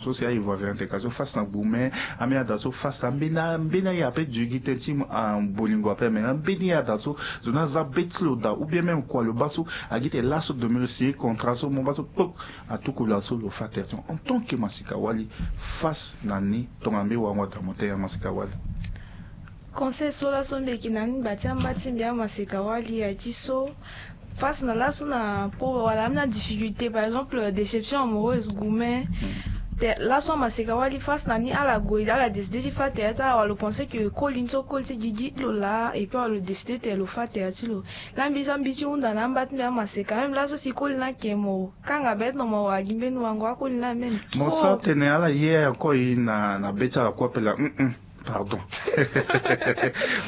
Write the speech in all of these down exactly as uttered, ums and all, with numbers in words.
so si aye voirie ante ka so face na gbume. Ambeni ada so face ambeni ambeni aye ape dugi tënë ti bolingo ape me ambeni aye ada so zo ni aza be ti lo daa ou bien même kua lo baa so agi te laso domi lo si contrat so mo baa so kpok. Atuku laso lo fa tere ti en tant que masika wali face na ni tongana mbi wango ada mo te ya masika wali. Conseil so laso mbi yeke na ni ngba ti amba ti mbi amaseka wali aye ti so, face na laso na po wala ambeni adifficulté par exemple déception amoureuse gume. Te laso amaseka wali face na ni ala gue ala décidé ti fa tere ti ala wala lo pensé ke koli ni so koli ti gigi ti lo laa et puis wala lo décidé te lo fa tere ti lo. Laa mbi so mbi ti hunda na amba ti mbi amaseka même laso si koli ni ake mo kanga be ti na mo wara gi mbeni wango akoli ni amême mo sara tene ala ye encore ye na na be ti ala kue ape laa. Pardon.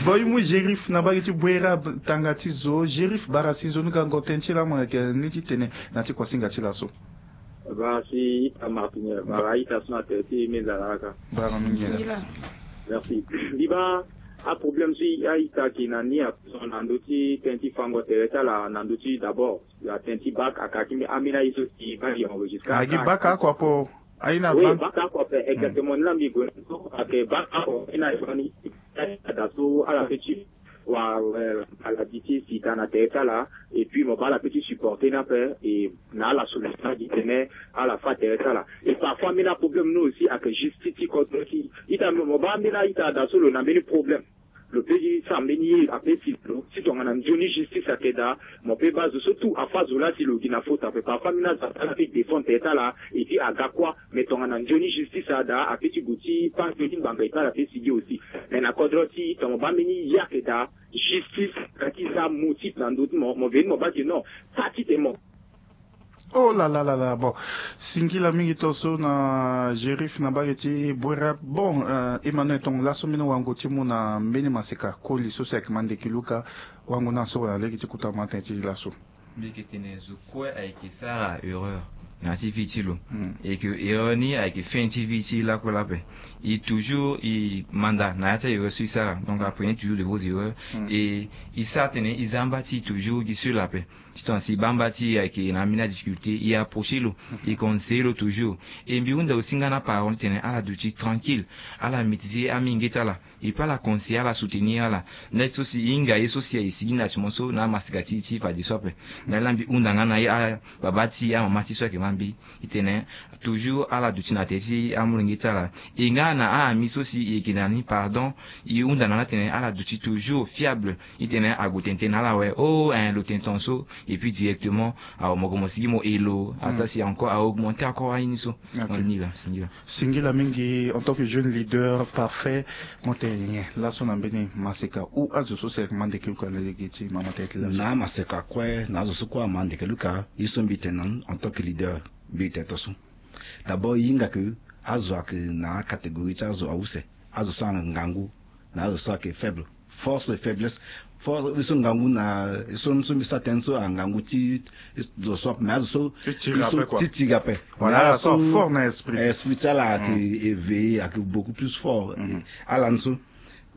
Bon, i mu Gérif na mbage ti Bouérab tanga ti zo. Gérif bara si nzoni gango tënë ti lamu ayeke ni ti tene na ti kuasinga ti laso. Bara si ita Martinière bara ita so na tere ti menzala aka. Bara mingi. Merci. Mbi baa aproblème so a-ita ayeke na ni ape so na ndö ti tënë ti fango tere ti ala na ndö ti d'abord atënë ti bac aka ti ambeni aye so si baa enregistré agi bac aka apo. Aye na oui bank. Baka ako ape exactement ni la mbi gue na so ake baka ako aye na fani. Ada so ala pe ti wa maladie ti sida na tere ti ala. Et puis mo baa ala pe ti supporter ni ape. Et na ala solution agi tene ala fa tere ti ala. Et parfois mbeni aproblème ni aussi ake justice ti kodro ti ita mo baa mbeni a-ita ada so lo na mbeni problème. Lo pe gi sara mbeni ye ape si lo si tongana nzoni justice ayeke daa. Mo pe baa zo so tout afa zo laa si lo gi na faute ape parfois mbeni azo ape ala pe défendre tere ti ala. Et puis aga kuâ mais tongana nzoni justice ada ape ti gue ti paa nzoni ngbanga et puis ala pe si gi aussi. Mais na kodro ti tongana mo baa mbeni ye ayeke daa justice aga ti za motif na ndö ti mo mo veni mo baa ti non. Pâ ti tene mo. Oh là là là là bon. Singila mingi to so na Gérif na mbage ti Bouérab. Bon, Emmanuel Tongo laso mbeni wango ti mu na mbeni maseka koli so si ayeke ma ndeke luka. Wango na so wala lege ti kuta ma tënë ti laso. Mbi yeke tene zo kue ayeke sara erreur na ya ti vie ti lo. Et que erreur ni ayeke fin ti vie ti lakue lape. E toujours e manda na ya ti a-erreur so e sara donc apprendre toujours de vos erreurs. Et e sara tene e za amba ti e toujours gi seul ape. Ti tongana si bamba ti e ayeke na ambeni adifficulté e approcher lo. E conseiller lo toujours. E mbi hunda aussi nga na aparent ti tene ala duti tranquille. Ala maîtriser amenge ti ala. E pe ala conseiller ala soutenir ala. Nda ti so si e hinga ye so si aye sigi na ti mo so na amasika ti e ti fadeso ape. Na ala mbi hunda nga na e ababa ti e amama ti e so ayeke ma mbi. E tene toujours ala duti na tere ti amolenge ti ala. E nga na a-ami so si e yeke na ni pardon. E hunda na ala tene ala duti toujours fiable. E tene ague tene tene na ala awe oh hein lo tene tonga so. Et puis directement awe mo gue mo sigi mo helo asa si encore a augmenter encore aye ni so. Ni la singila. Singila mingi en tant que jeune leader parfait. Mo tene nyen laso na mbeni maseka ou azo so si ayeke ma ndeke luka na lege ti mama tene ti laso. Na amaseka kue na azo so kue ama ndeke luka ye so mbi tene na ni en tant que leader. Mbi tene tonga so d'abord e hinga ke azo ayeke na acatégorie ti azo ause. Azo so ayeke ngangu na azo so ayeke faible. Force et faiblesse. Force ye so ngangu na ye so so mbi sara tënë so angangu ti zo so ape mais azo so ti tiri ape. Voilà ala so fort na esprit. Esprit ti ala ayeke éveillé ayeke beaucoup plus fort. Ala ni so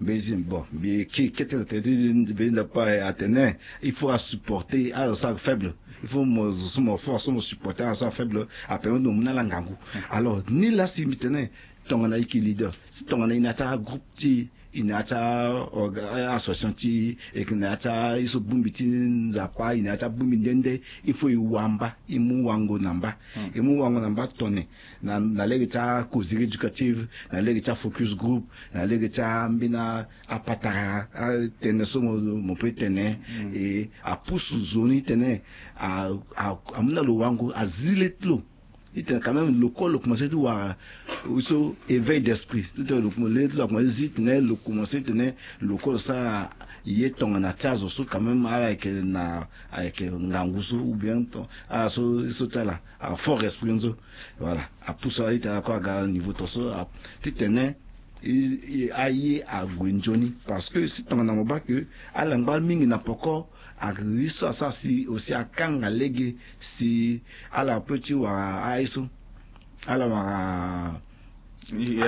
mbi bon mbi ke kete na tënë ti mbi nda pa atene il faut asupporter azo so ayeke faible. Il faut mo zo so mo fort so mo supporter azo so ayeke faible. Apermet mo mu na ala ngangu. Alors ni la si mbi tene tongana e yeke leader si tongana e na ya ti agroupe ti e e na ya ti a-association ti e e yeke na ya ti aye so bongbi ti nzapa e na ya ti abongbi nde nde. Il faut e wamba e mu wango na mba. E mu wango na mba tone na lege ti acauseri éducative na lege ti afocus groupe na lege ti ambeni apatara atënë so mo pe tene. E apusu zo ni tene amu na lo wango azi le ti lo. Ti tene quand même lo kue lo commencé ti wara so éveil d'esprit ti tene lo commencé ti wara lo commencé ti tene lo kue lo sara ye tongana ti azo so quand même ala yeke na ayeke ngangu so ou bien ala so so ti ala a fort esprit ni so. Voilà apusu ala ti tene ako aga niveau to so ti tene aye ague nzoni parce que si tongana mo baa ke ala ngba mingi na poko. Ake ye so asara si aussi akanga lege si ala pe ti wara aye so ala wara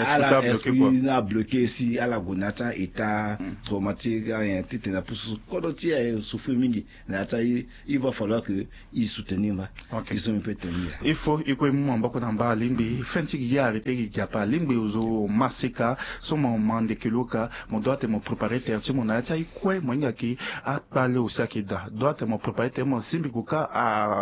ala esprit na bloqué si ala gue na ya ti a-état traumatique ayen titene apusu kodro ti aye souffrir mingi. Na ya ti aye il va falloir que il soutenir ma il so mi pe tene ya. Il faut i kue mu maboko na mba alingbi fin ti gi arrêté gi gi ape alingbi ozo maseka so mo ma ndeke lo ka mo doit te mo préparer terre ti mo na ya ti aye kue mo hinga ki akpale aussi ayeke daa doit te mo préparer terre mo simbi gue ka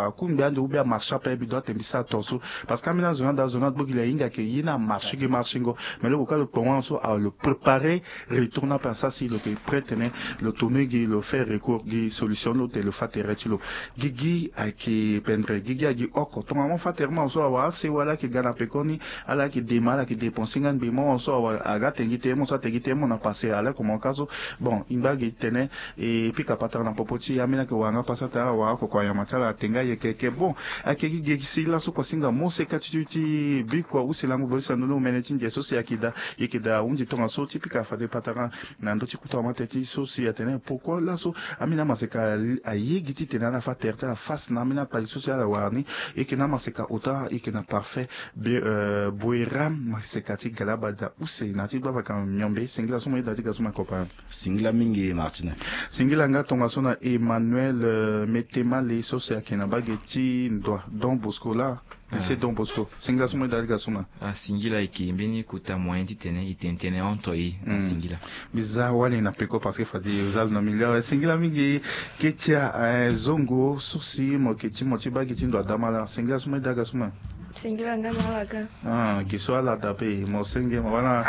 akungbi ande ou bien amarché ape mbi doit te mbi sara tonso. Parce que ambeni azo ni ada azo ni agbo gi le ahinga ke ye ni amarché gi marchingo. Mais lo gue ka lo kpo wani so awe lo préparer retour ni ape asara si lo yeke prêt tene lo tourner gi lo faire recours gi solution ni lo te lo fa tere ti lo. Gigi ayeke pendre gigi agi oko tonga mo fa tere mo so awe asewa ala yeke ga na pekoni. Ala yeke dema ala yeke dépenser nga ngbe mo so awe aga te gi te mo so ate gi te mo na passé ala komo ka so. Bon i ngba gi tene e pika patara na popo ti ambeni ayeke wara nga pasa ate ala wara oko kua nyama ti ala ate nga yeke yeke bon. Ayeke gi gegi si laso kua singa mo seka ti ti ti bikua use lango bebisa ndoni omene ti ndia so si ayeke daa. Yeke daa ahundi tongaso ti pika fade patara na ndö ti kuta wa ma teti so si atene pourquoi laso ambeni amaseka aye gi titene ala fa tere ti ala face na ambeni akpali so si ala wara ni. Yeke na amaseka ota yeke na parfait boeram maseka ti galabadia use na ti gbavaka miombe singila so mo yeda ti ga so ma kopa. Singila mingi martine. Singila nga tongaso na emmanuel metemale so si ayeke na bage ti ndoa don bosco la. Lycée don bosco singila so mo yeda ti ga so ma. Ah, singila ayeke mbeni kota moyen titene e tene tënë entre e na singila. Mbi za wali na peko parce que fade e za lo na milieu awe singila mingi. Ketia zongo so si mo yeke ti mo ti bage ti ndo adama laa singila so mo yeda ga so ma. Singila nga na ala ga. Ah, gi so ala da pe mo senge ma wala.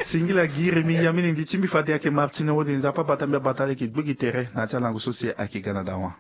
Singila gi remi ya mini ndi ti mbi fade ayeke martine wode nzapa abata mbi abata ala yeke gbe gi tere na ya ti alango so si ayeke ga na dawa.